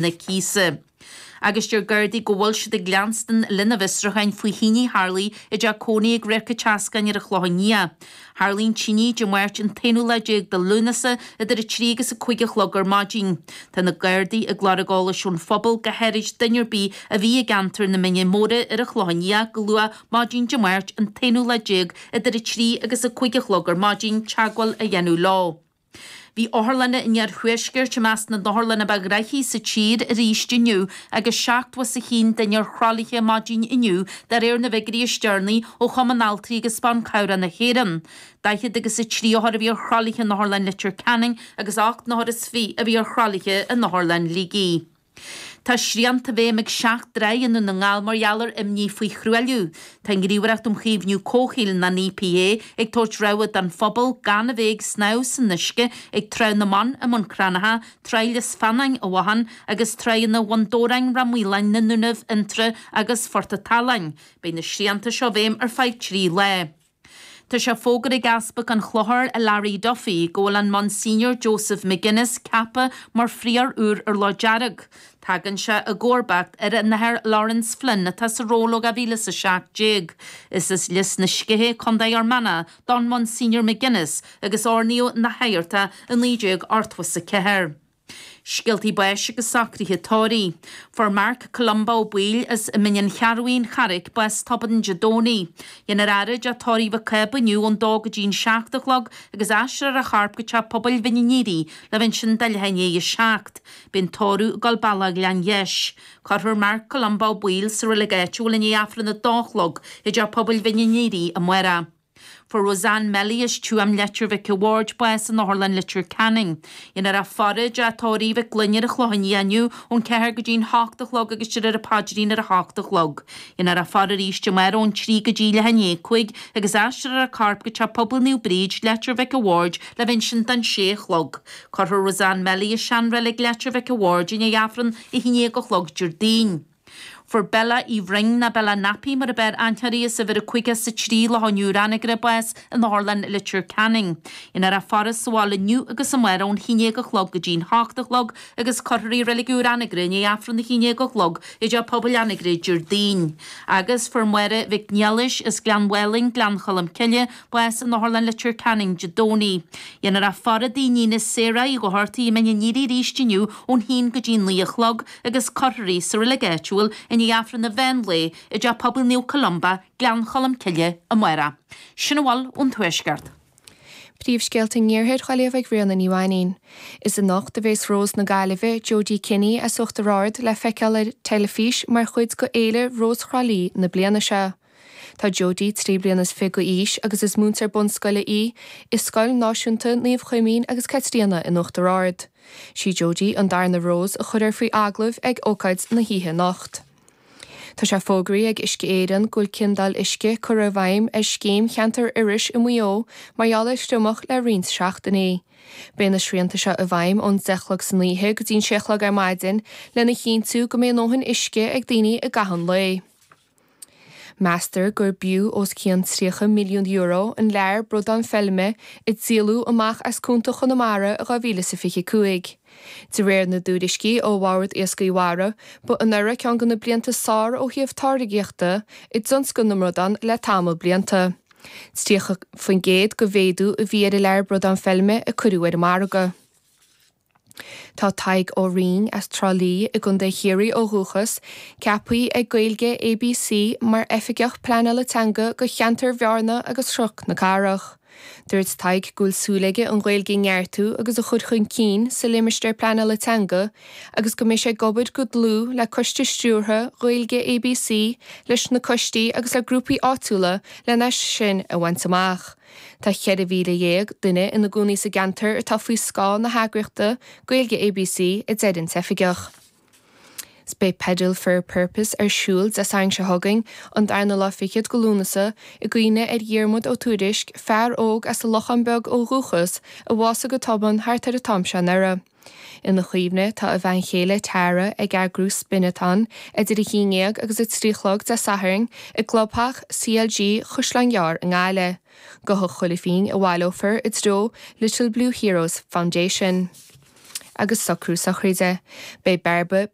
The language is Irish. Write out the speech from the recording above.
Na cíosa. Agus deir Gardaí go bhfuil siad ag leanstan lena bhfiosrúcháin faoi thine a tharlaigh i dteach cónaí ag Radharc an tSeascáin ar an Chlochán Liath. Tharlaigh an tine Dé Máirt an t-aonú lá déag de Lúnasa idir 3 agus 5 a chlog ar maidin. Tá na Gardaí ag lorg eolais ón phobal, go háirid duine ar bith a bhí i gceantar na Mine Móire ar an Chlochán Liath go luath maidin Dé Máirt an t-aonú lá déag idir 3 agus 5 a chlog ar maidin, teagmháil a dhéanamh leo. Bhí otharlanna an iarthuaiscirt i measc na n-otharlanna ba ghnaithí sa tír arís inniu agus 71 duine ar thralaithe maidin inniu de réir na bhfigiúirí is deireanaí ó Chumann Altraí agus Ban Cabhrach na hÉireann. 40 agus 3 othar a bhí ar thralaithe in Otharlann Leitir Ceanainn agus 8 n-othar is 20 a bhí ar thralaithe in Otharlann Shligigh. Tá srianta i bhfeidhm ag 7 dtráigh i nDún na nGall mar gheall ar imní faoi thruailliú. Tá an Ghníomhaireacht um Chaomhnú Comhshaoil, an EPA, ag tabhairt rabhadh don phobal gan a bheith ag snámh san uisce ag Trá na mBan i mBun Cranncha, Tráigh Lios Feannáin i bhFotháin agus tráigheanna Bhun Dobhráin, Ráth Maoláin, na nDúnaibh, Fhionntrá agus Phort a' tSaláin. Beidh na srianta seo i bhfeidhm ar feadh 3 lá. Tá sé fógartha ag Easpag an Chlochair, Larry Duffy, go bhfuil an Monsignor Joseph McGuinness ceaptha mar phrióir úr ar Loch Dearg. Tagann sé i gcomharbacht ar an Athair Laurence Flynn atá sa ról ó 2017. Is as Lios na Sceiche, Co. Fhear Manach, don Monsignor McGuinness agus oirníodh ina shagart é i 1984. Scéaltaí báis agus socruithe tórraimh. Fuair Marc Columba Ó Baoill as Mín an Cheathrúin, an Charraic, bás tobann Dé Domhnaigh. Dhéanfar a fhaire i dteach tórraimh Mhic Cába inniu ón dó go dtí an 7 a chlog agus aistreofar a chorp go teach pobail Mhín an Aoraigh le bheith ansin do leath i ndiaidh a 7. Beidh an tórramh ag dul bealach Ghleann Gheis. Cuirfear Marc Columba Ó Baoill sa reilig áitiúil i ndiaidh Aifreann a dó a chlog i dteach pobail Mhín an Aoraigh amárach. Fuair Roseanne Melly as Tuaim Leitir Mhic a' Bhaird bás in Otharlann Leitir Ceanainn. Dhéanfar a faire i dteach tórraimh Mhic Gloinn ar an Chlochán Liath inniu ón 4 go dtí'n 8 a chlog agus de réir an paidrín ar a hocht a chlog. Dhéanfar a faire arís amárach ón 3 go dtí leath i ndiaidh 5 agus aistreofar a corp go Teach Pobail Naomh Bríd, Leitir Mhic a' Bhaird le bheith ansin don 6 a chlog. Cuirfear Roseanne Melly i seanreilig Leitir Mhic a' Bhaird i ndiaidh Aifreann 11 a chlog Déardaoin. Fuair Bella Uí Bhroin, nó Bella Nappy mar a b'fhearr aithne uirthi, as uimhir 53 Loch an Iúir, Anagaire, bás in Otharlann Leitir Ceanainn. Dhéanfar a faire sa bhaile inniu agus amárach ón 11 a chlog go dtí'n 8 a chlog agus cuirfear í i Reilig Úr Anagaire i ndiaidh Aifreann 11 a chlog i dTeach Pobail Anagaire Déardaoin. Agus fuair Máire Mhic Niallais as Gleann Mhálainn, Gleann Cholm Cille, bás in Otharlann Leitir Ceanainn Dé Domhnaigh. Dhéanfar a faire dá iníon Sarah Uí Dhochartaigh i Mín an Aoraigh arís inniu ón haon go dtí 9 a chlog agus cuirfear í sa reilig áitiúil i ndiaidh Aifreann an mheán lae i dTeach Pobail Naomh Columba, Gleann Cholm Cille, amárach. Sin a bhfuil ón Tuaisceart. Príomhscéalta an Iarthair á léamh ag Ríona Ní Mhainín. Is anocht a bhéas Rós na Gaillimhe, Jodie Kinney as Uachtar Ard le feiceáil ar teilifís mar chuid de Fhéile Rós Thrá Lí na bliana seo. Tá Jodie 23 bliana d'aois agus is múinteoir bunscoile í i Scoil Náisiúnta Naomh Chuimín agus Caitríona in Uachtar Ard. Sí Jodie an darna Rós a chuirfear faoi agallamh ag ócáid na hoíche anocht. Tá sé fógraithe ag Uisce Éireann go bhfuil ciondáil uisce curtha i bhfeidhm ar Scéim Cheantar Iorrais i Maigh Eo mar gheall ar thriomach le roinnt seachtainí. Beidh na srianta seo i bhfeidhm ón 10 a chlog san oíche go dtí an 6 a chlog ar maidin lena chinntiú go mbeidh a ndóthain uisce ag daoine i gcaitheamh an lae. Meastar gur b'fhiú os cionn €30 milliún an lear bradán feilme a díoladh amach as cuanta Chonamara i 2025. De réir na dtuairiscí ó Bhord Iascaigh Mhara, ba anuraidh ceann de na blianta is fearr ó thaobh táirgíochta i dtionscal na mbradán le tamall blianta. 30% de mhéadú a bhí ar an lear bradán feilme a cuireadh ar an margadh. Tá Tadhg Ó Rinn, as Trá Lí i gContae Chiarraí ó dhúchas, ceaptha ag Gaeilge ABC mar Oifigeach Pleanála Teanga do cheantar Bhearna agus Chnoc na Cathrach. Dúirt Tadhg go bhfuil súil aige an Ghaeilge a neartú agus a chur chun cinn sa limistéar pleanála teanga agus go mbeidh sé ag obair go dlúth le Coiste Stiúrtha Ghaeilge ABC, leis na coistí agus le grúpaí áitiúla lena sin a bhaint amach. Tá 14,000 duine ina gcónaí sa gceantar atá faoi scáth na heagraíochta Gaeilge ABC, a deir an t-oifigeach. 'S beidh Pedal for a Purpose ar siúl Dé Sathairn seo chugainn, an darna lá fichead go Lúnasa, i gcuimhne ar Dhiarmuid Ó Tuairisg, fear óg as an Lochán Beag ó dhúchas, a bhásaigh go tobann thart ar an t-am seo anuraidh. Ina chuimhne, tá a bhean chéile Tara ag eagrú Spin-a-thon idir 11 agus 3 a chlog Dé Sathairn i gclubtheach CLG Chaisleán Gearr i nGaillimh. Go chuile phingin a bhaileofar i dtreo Little Blue Heroes Foundation. agus socrú sochraide. Beidh Bairbre.